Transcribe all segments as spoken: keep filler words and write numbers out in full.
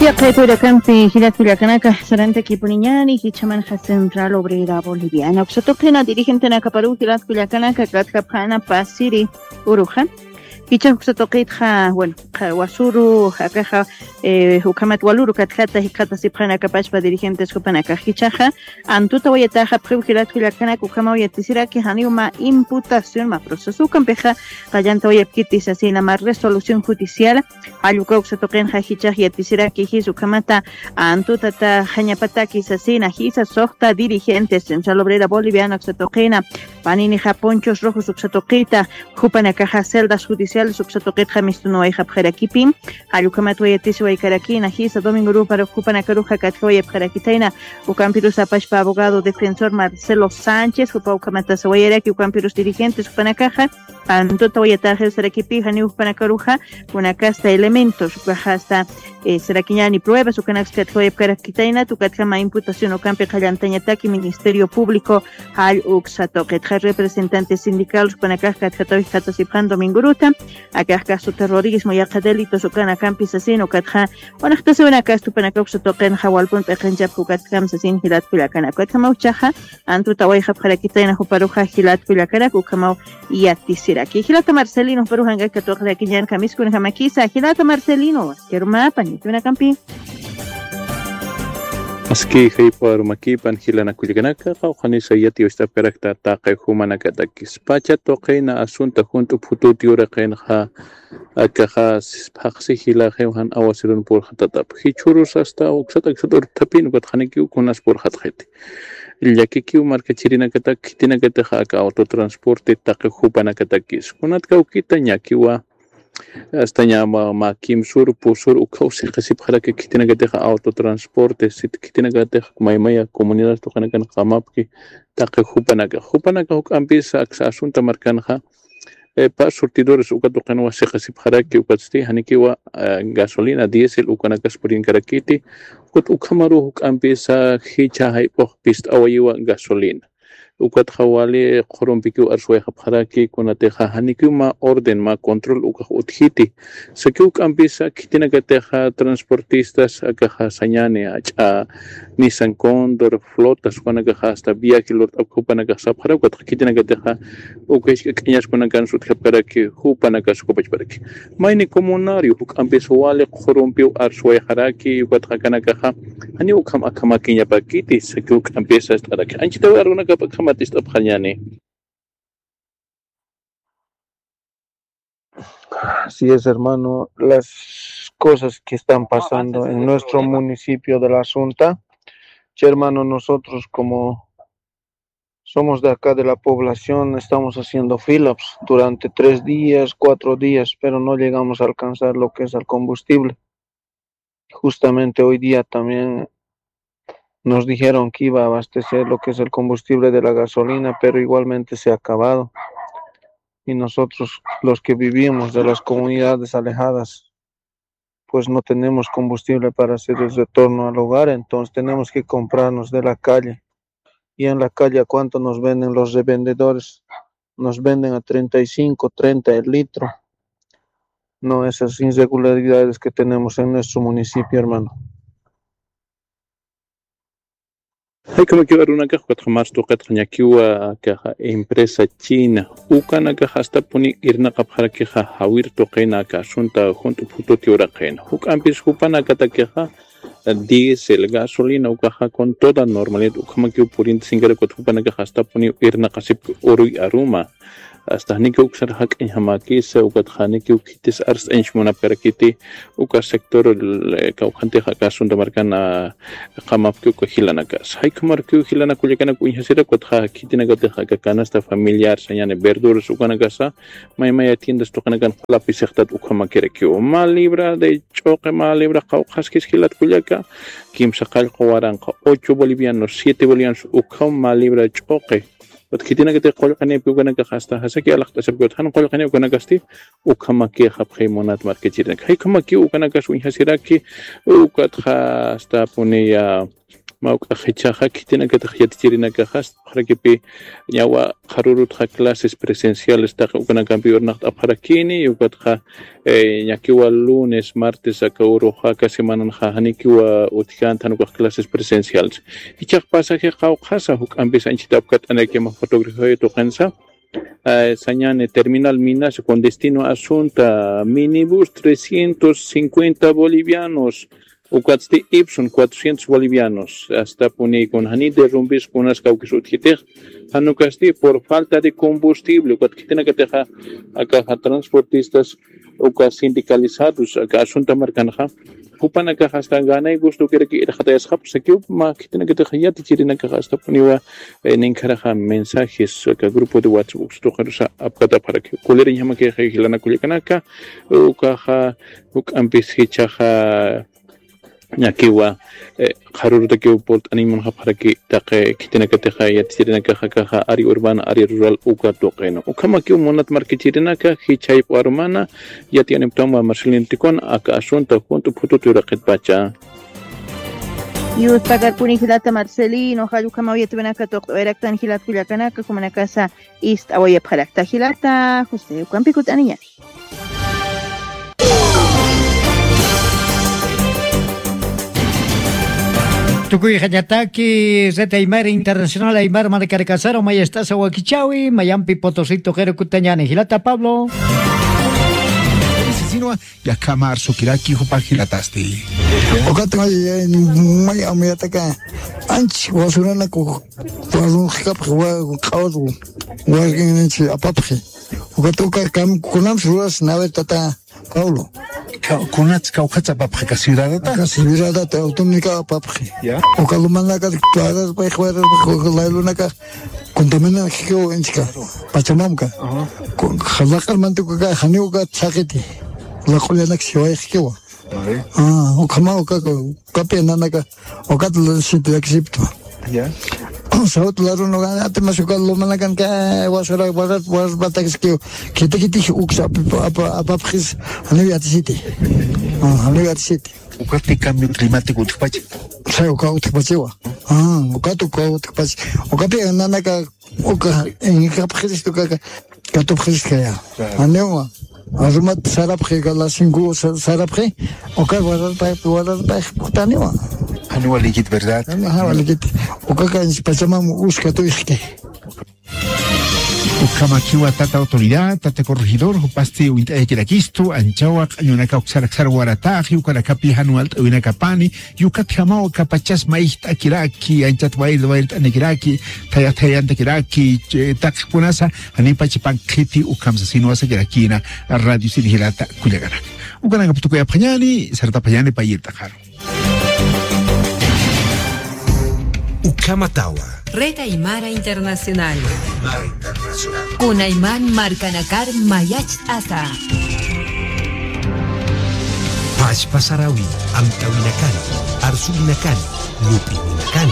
Yaqha kullakanpi jilat kullakanaka, sarantakipuniñani jichhamanxa Central Obrera Boliviana uksa tuqina dirigentenakaparuw jilat kullakanaka, katjapxana pasiri uruxa. Jichhax uksa tuqitxa, bueno, wasuru akaxa, eh, ukhamat waluru katjata jikxatasipxanakapachpa dirigentes jupanakax jichhaxa, antuta wayataxa pxiw jilat kullakanak ukhamaw yatisiraki janiw mä imputación mä proceso ukampixa qallanta wayapkiti sasina mä resolución judicial. Jall uka uksa tuqinxa jichhax yatisiraki jis ukhamata antutata jañapataki sasina jisa suxta dirigentes Central Obrera Boliviana uksa tuqina, paninixa ponchos rojos uksa tuqita, jupanakaxa celdas judiciales uksa tuqitxa mistunuwayxapxarakipim. Jall ukhamat wayatisiwaykarakina jisa domingo ruparux jupanakaruxa katjawayapxarakitayna, ukampirus apachpa abogado defensor Marcelo Sánchez jupa ukhamata sawayaraki ukampirus dirigentes jupanakaxa antuta wayataxir sarakipi janiw jupanakaruxa kunakasta elementos ukaxasta, eh, sarakiñani pruebas ukanaksa katjawayapkarakitayna tukatjama imputación ukampi qallantañataki Ministerio Público jall uksa tuqitxa representantes sindicales jupanakax katjatawix katasipxan domingoruta. Akax caso terrorismo yaqha delitos ukanakampi sasin ukatxa, unaxtasiwinakastupanaka uksa tuqinxa walpun p'iqinchapka ukatjam sasin jilat kullakanak ukatjama uchaxa antutawayxapxarakitayna juparuxa jilat kullakanak ukhamaw yatisiraki. Jilata Marcelino juparuxa ankakat waqrakiñan kamiskunjamakisa jilata Marcelino, kirmapa nitunakampi. Aski jayp'arumakipan jilanakullakanaka qawqhanisa yatiyust'apkarakta taqi jumanakatakis pacha tuqina asunta junt'u phututi uraqinxa. Akaxa phaqsi jilaxiw jan awasirun purxatatap jichhurus asta uksat aksat urthapin ukatxanikiw kunas purxatxiti. Llakikiw markachirinakatak khitinakatixa aka autotransporte taqi jupanakatakis kunat kawkita ñakiwa. Astaña mä kimsur pusur ukhaw siqisipxaraki khitinakatixa autotransporte sit khitinakatix maymaya comunidad tuqinakan qamapki taqi jupanaka jupanaka juk'ampisa aksa asunta markanxa. Pas surtidores uka tuqinwa siqisipxaraki ukatsti janikiwa gasolina diésel ukanakas purinkarakiti. Ukat ukhamaruw juk'ampisa jichha jayp'ux pist'awayiwa gasolina. Ukatxa wali qhurumpikiw arswayxapxaraki kunatixa janikiw mä orden mä control ukax utjiti. Sakiw juk'ampisa khitinakatixa transportistas akaxa sañani ach'a nisan condor flotas jupanakaxa asta viaje lurt'apka jupanakax sapxarak ukatxa khitinakatixa uka jisk'a k'añaskunakan sutjapkaraki jupanakas ukapachparaki. Mayni comunario juk'ampis wali qhurumpiw arswayxaraki ukatxa akanakaxa janiw ukham akhamakiñapakiti sakiw juk'ampisa ist'araki anchitawi arunakap akhamat ist'apxañani. Así es, hermano, las cosas que están pasando en nuestro municipio de La Asunta. Che, hermano, nosotros como somos de acá de la población, estamos haciendo filas durante tres días, cuatro días, pero no llegamos a alcanzar lo que es el combustible. Justamente hoy día también nos dijeron que iba a abastecer lo que es el combustible de la gasolina, pero igualmente se ha acabado. Y nosotros, los que vivimos de las comunidades alejadas, pues no tenemos combustible para hacer el retorno al hogar, entonces tenemos que comprarnos de la calle. Y en la calle, ¿a cuánto nos venden los revendedores? Nos venden a treinta y cinco, treinta el litro. No, esas irregularidades que tenemos en nuestro municipio, hermano. Jaykhamakiw arunakax ukatxa mars tuqitxa ñakiwa akaxa empresa china ukanakax astapuni irnaqapxarakixa jawir tuqina aka asunta junt'u phututi uraqina juk'ampis jupanakatakixa diésel gasolina ukaxa con toda normalidad ukhamakiw purinti sinkarak ukatxa jupanakax astapuniw irnaqasipki uruy aruma. Asta janikiw uksar jak'añjamäkisa ukatxa janikiw khitis arst'añch munapkarakiti uka sector kawkhantix aka asunta markan qamapki uka jilanakas jaykhamarukiw jilanakullakanak uñjasirak ukatxa khitinakatix aka canasta familiar sañani verduras ukanakasa maymaya tiendas tuqinakan q'ulapi sixtat ukhamakirakiw mä libra de ch'uqi mä libra qawqhaskis jilat kullaka kimsa qallqu waranqa ocho bolivianos siete bolivianos ukham mä libra ch'uqi. Ukat khitinakatix qullqinipki ukanakax asta jasaki alaqt'asipki ukat jan qullqini ukanakasti ukhamakixapxi munat markachirinak jaykhamakiw ukanakas uñjasiraki. Ukatxa astapuniya mä uk'ax jichhaxa, khitinakatix yatichirinakaxa, apxarakipi ñawa qharürutxa clases presenciales taqi ukanakampi urunaqt'apxarakini, ukatxa, eh, ñakiwa lunes, martes, aka uruxa, aka semananxa, janikiwa utjkänti jan ukax clases presenciales. Jichhax pasaje qawqhasa, juk'ampis anchhit apkat'anakima fotografiaw tuqinsa, eh, sañäni terminal Minasa con destino a Asunta, minibús trescientos cincuenta bolivianos, ukatsti Ipson cuatrocientos bolivianos, astapuni kun jani derrumbis kunas kawkis utjkitix, jan ukasti por falta de combustible, ukat khitinakatixa akaxa transportistas uka sindicalizados aka Asunta markanxa, jupanakax hasta gana y gusto kiraki irxatayasxapxi sakiw, mä khitinakatix yatichirinakax astapuniwa, eh, ninkharaxa mensajes aka grupo de WhatsApp uksa tuqirusa apkatapxaraki. Kuliriñjamakix jilana kullakanaka, ukaxa juk'ampis jichhaxa ñakiwa, eh, qharürutakiw purt'aniñ munxapxaraki taqi khitinakatixa yatichirinakaxa akaxa área urbana, área rural uka tuqinu. Ukhamakiw munat markachirinaka, jichhayp'u arumana, yatiyänipktanwa Marcelino Ticona, aka Asunta junt'u phutut yuraqitpacha. Yustakarpuni jilata Marcelino, jall ukhamaw yatiyäwinaka tuqt'awayaraktan jilat kullakanaka, jumanakasa ist'awayapxarakta jilata, José, ukampi kutt'aniñäni. Tukuyxañataki Red Aymara Internacional Aymar markarakasar mayacht'asa wakichäwi, mayampi Potosí tuqiru kuttañäni. Jilata Pablo. Sinwa, yakhama arsukiraki jupa jilatasti. Ukat may, may amuyataka, anch wasuranaku, warunxkapxi, wa-, q'awat, warqin anch apapxi. Ukat uka kam-, kunams ruras nawe tata Pablo. Ka-, kunats kawkhatsa apapxi, ka ciudadata? Aka ciudadata, autónoma apapxi. Ya. Uka lumanaka, tuaras, pay, jueras, uka laylunaka, contamina jikiw inchka, Pachamamka. Ajá. Ku-, laq'ar mantukuka, janiw uka chaqiti. Laq'ullanak siway jikiwa. Vale. Ah, ukhama uka, ukapi nanaka, ukat la sinti dak siptu. Ya. Sawt la runu, ati mas uka lumanakan ka, wasara, warat, warat batak sikiw. Kiti, kiti, uksa, apa, apa, apa, pxis, janiw yatisiti. Ah, janiw yatisiti. Ukapi cambio climático utjpacha. Sa uka utjpachiwa. Ah, ukat uka utjpachi. Ukapi nanaka, uka, en kapxiristu kaka, katupxiristu kaya. Claro. Anewa, arumat sarapxi, ka las cinco sa-, sarapxi, uka wararpay, wararpay, putaniwa. Anewa likit, ¿verdad? Anewa likit. Uka kan Pachamam uskatu ixki. Ukhamakiwa tata autoridad, tata corregidor, jupasti uñt'ayakirakistu, anchawa q'añunaka uksaraksar warataxi, ukanakapi jan walt'awinakapani, yukatjamaw kapachas mayjt'akiraki, anchat wayr, wayrt'anikiraki, thaya, thayantakiraki, che, taqkunasa, janipacha panqhiti ukham sasin wasakirakina, radio sinjilata kullakanaka. Ukanakap tukuyapxañani, sartapxañani payirt'axaru. Ukhamatawa. Red Aymara Internacional. Kunayman markanakar mayacht'asa. Pachpa sarawi, amtawinakan, arsuwinakan, lup'inakan,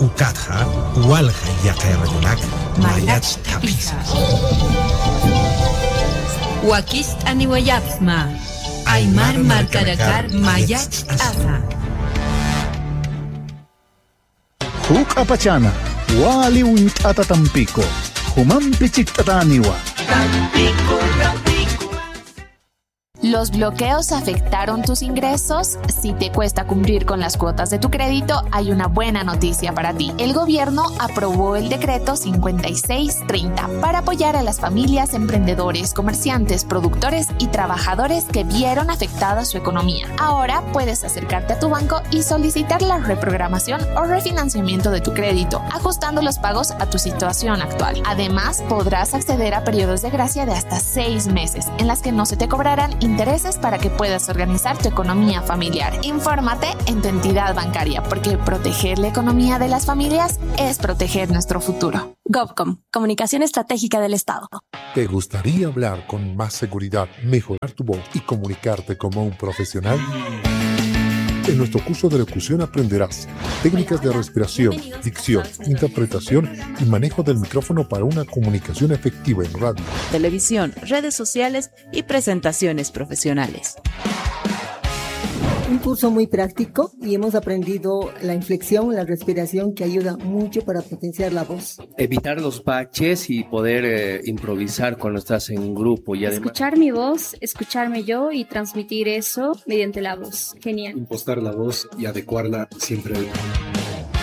ukatxa, walja yaqay radionak, mayacht'apisa. Wakicht'aniwayapxma. Aymar markanakar mayacht'asa. Juk'apachana, wali uñt'ata Tampico, jumampi chikt'atäniwa. ¿Los bloqueos afectaron tus ingresos? Si te cuesta cumplir con las cuotas de tu crédito, hay una buena noticia para ti. El gobierno aprobó el decreto cincuenta y seis treinta para apoyar a las familias, emprendedores, comerciantes, productores y trabajadores que vieron afectada su economía. Ahora puedes acercarte a tu banco y solicitar la reprogramación o refinanciamiento de tu crédito, ajustando los pagos a tu situación actual. Además, podrás acceder a periodos de gracia de hasta seis meses, en las que no se te cobrarán intereses para que puedas organizar tu economía familiar. Infórmate en tu entidad bancaria, porque proteger la economía de las familias es proteger nuestro futuro. Gobcom, Comunicación Estratégica del Estado. ¿Te gustaría hablar con más seguridad, mejorar tu voz y comunicarte como un profesional? En nuestro curso de locución aprenderás técnicas de respiración, dicción, interpretación y manejo del micrófono para una comunicación efectiva en radio, televisión, redes sociales y presentaciones profesionales. Un curso muy práctico y hemos aprendido la inflexión, la respiración que ayuda mucho para potenciar la voz. Evitar los baches y poder eh, improvisar cuando estás en grupo y además... Escuchar mi voz, escucharme yo y transmitir eso mediante la voz. Genial. Impostar la voz y adecuarla siempre.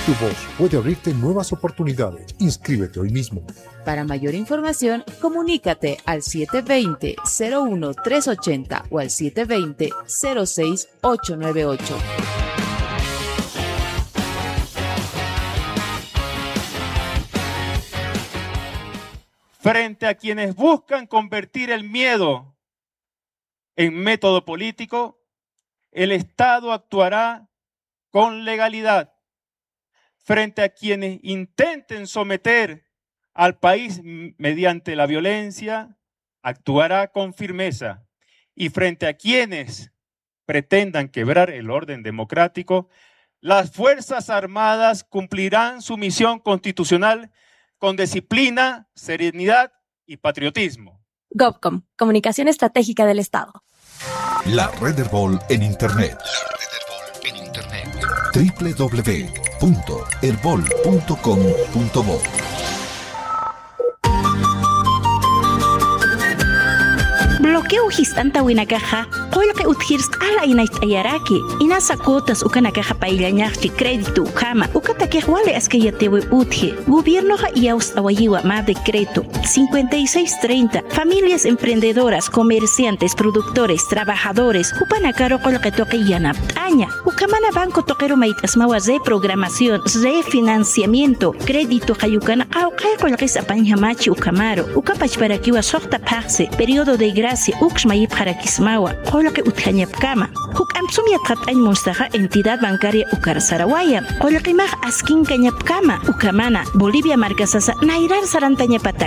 Tu voz puede abrirte nuevas oportunidades. Inscríbete hoy mismo. Para mayor información, comunícate al siete veinte, cero uno, tres ochenta o al siete veinte, cero seis, ocho nueve ocho. Frente a quienes buscan convertir el miedo en método político, el Estado actuará con legalidad. Frente a quienes intenten someter al país m-, mediante la violencia, actuará con firmeza. Y frente a quienes pretendan quebrar el orden democrático, las Fuerzas Armadas cumplirán su misión constitucional con disciplina, serenidad y patriotismo. Gobcom, Comunicación Estratégica del Estado. La Red Erbol en Internet. La Red Erbol en Internet. Www.erbol.com.bo. Bloqueo jist'antawinakaxa qullqi utjir sq'ala inayt'ayaraki, inasa cuotas ukanakaxa payllañaxchi crédito ukhama, ukatakix wali askayatiwi utji. Gobiernoxa iyawst'awayiwa mä decreto cincuenta y seis treinta, familias emprendedoras, comerciantes, productores, trabajadores, jupanakaru qullqi tuqi yanapt'aña. Ukhamana banco tuqiru mayt'asmawa reprogramación, refinanciamiento, crédito qayukana qawqhay qullqis apañjamachi ukhamaru. Uka pachparakiwa suxta phaxsi, periodo de gracia, ukx mayipxarakismawa, qullqi utjañapkama. Juk'amp sum yatxat'añ munstaxa entidad bancaria ukar sarawaya. Qullqimax askinkañapkama, ukhamana, Bolivia markasasa nayrar sarantañapatak.